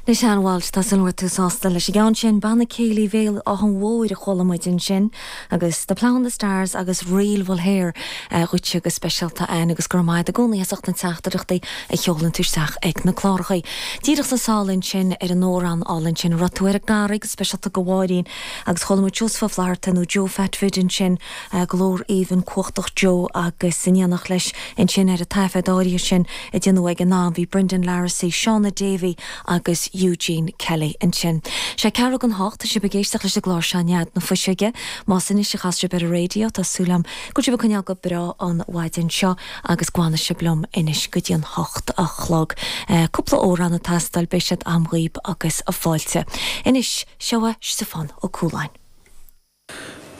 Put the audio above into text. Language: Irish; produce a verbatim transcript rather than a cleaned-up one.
Anois a Walsh, tá súil agam go raibh tú sásta leis an gceann sin, Banna Céilí Bhéal Átha an Mhóir a chuala muid ansin agus The Plough and the Stars agus Ríl Bhulhair dhuitse go speisialta Ann agus go raibh maith agat i gcónaí as ucht na teachtaireachtaí a sheolann tú isteach ag na cláracha. Díreach sa sáil ansin ar an amhrán álainn sin raibh tú ar an gCarraig go speisialta go Mháirín agus chuala muid Joseph Ó Flatharta nó Joe Phatfid ansin glór aoibhinn cumhachtach Joe agus in éineacht leis ansin ar an taifead áirithe sin a déanadh ag an am bhí Brendan Larrissy, Shauna Davy agus Eugene Kelly ansin. Sé ceathrú don hocht tá sibh ag éisteacht leis an gclár seo Nead na Fuiseoige, Más anois a chas sibh ar an raidió tá súil agam go bhfuil sibh ag coinneáil go breá an mhaidin seo agus go bhfanfaidh sibh liom anois go dtí an hocht a chlog. Cúpla amhrán ag teastáil beidh siad agam dhaoibh agus fáilte. Anois seo é Stiofán Ó Cualáin.